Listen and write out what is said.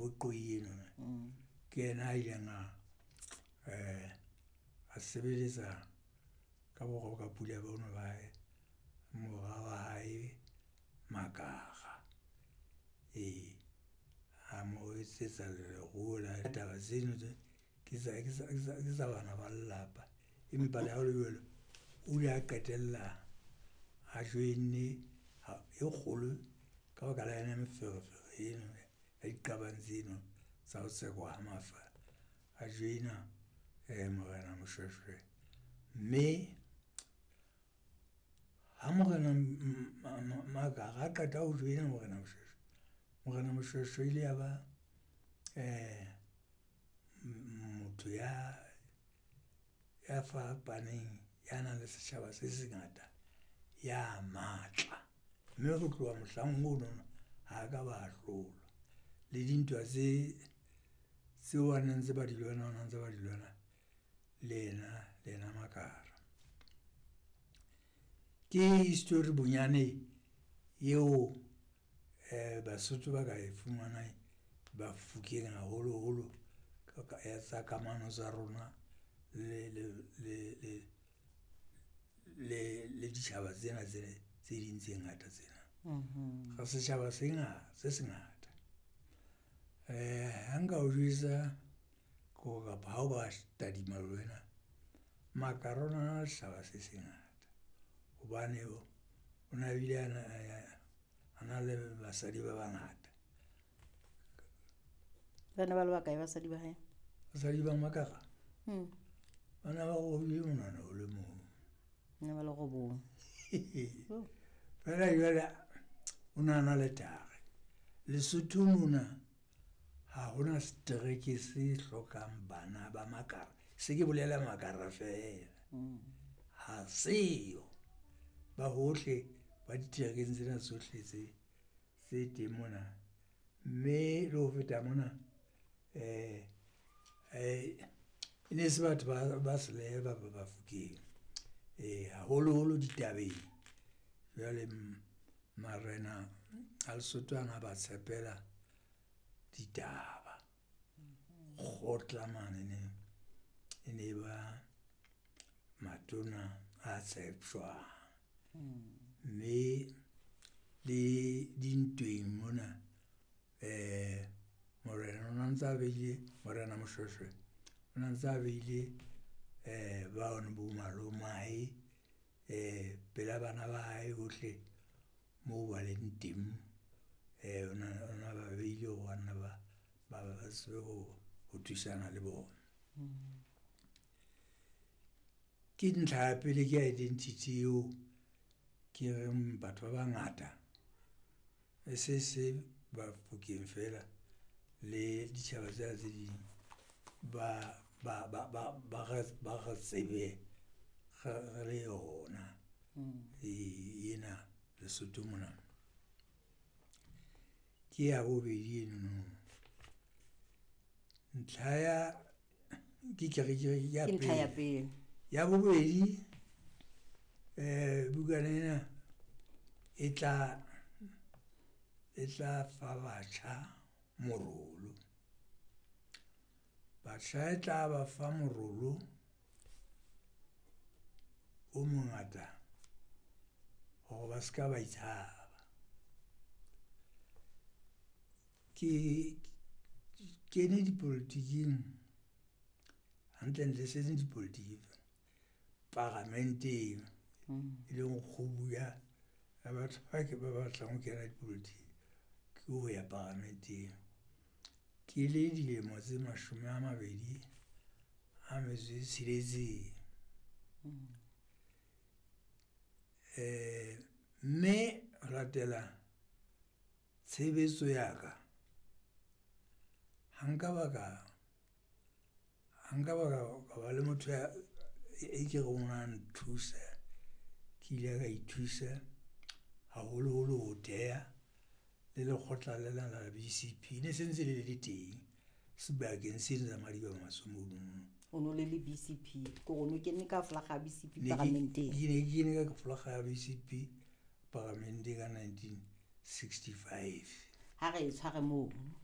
Foqoi eno ke yena a ileng a a sebeletsa ka borwa ka pula bono ba hae, mora wa hae Makara. Ee, a mo etsetsa leruo la taba tseno tse ke tsa bana ba lelapa. Empa le ha ho le jwalo, o ile a qetella a join-ne e kgolo ka baka la yona meferefere eno ya diqabang tseno tsa ho tsekwa ha mafa. A join-a Morena Moshoeshoe, mme ha Morena Makara a qeta ho join-a Morena Moshoeshoe, Morena Moshoeshoe ile ya ba motho ya fapaneng, ya nang le setjhaba se se ngata, ya matla. Mme ho tloha mohlang ono ha ka ba hlolwa. Le dintwa tseo a ne ntse ba di lwana, o na ntse ba di lwana le yena Makara. Ke history bonyane eo Basotho ba ka e fumanang Bafokeng haholoholo ya tsa kamano tsa rona le ditjhaba tsena tse ding tse ngata tsena. Re setjhaba se se ngata. Ha nka o jwetsa kapa ha o ba tadima le wena, Makara o na na le setjhaba se se ngata hobane o na bile a na le basadi ba bangata. Ba ne ba le bakae basadi ba hae? Basadi ba Makara? Bana ba robile monwana o le mong. Ne ba le robong. Fela jwale o na na le tare. Lesotho mona ha hona setereke se hlokang bana ba Makara, se ke bolela Makara feela. Ha seyo, ba hohle ba diterekeng tsena tsohle tse teng mona. Mme le ho feta mona e ne se batho ba selehe ba Bafokeng haholoholo ditabeng. Jwale marena a Lesotho ana a ba tshepela ditaba. Kgotla mane e ne ba matona a tsheptjwang. Mme le dintweng mona morena o na ntsa beile, Morena Moshoeshoe o na ntsa beile bano bo malomae pela bana ba hae bohle moo ba leng teng. O na ba beile hore banna ba tsebe ho thusana le bona. Ke ntlha ya pele ke identity eo ke reng batho ba bangata e se Bafokeng feela le ditjhaba tsena tse ding ba re tsebe re le yona ena Lesotho mona. Ke ya bobedi enono. Ntlha ya ke ntlha ya pele. Ya bobedi bukana ena e tla fa batjha morolo. Batjha e tla ba fa morolo o mongata hore ba ska ba itshaba. Ke kene dipolotiking, hantlentle e seng dipolotiking paramenteng, e leng kgubu ya batho ba ke ba batlang ho kena dipolotiking ke ho ya paramenteng. Ke le dilemo tse 26. Mme ho latela tshebetso ya ka, ha nka ba ka ba le motho e ke reng wa nthusa, ke ile ka ithusa haholoholo ho theha le lekgotla lena la BCP, ne se ntse le le teng sebakeng seno sa Madiba-Matswe mono. O no le le BCP, ke hore o no kene ka folaga ya BCP paramenteng. Ke ne ke kene ka folaga ya BCP paramenteng ka 1965. Ha re e tshware mono.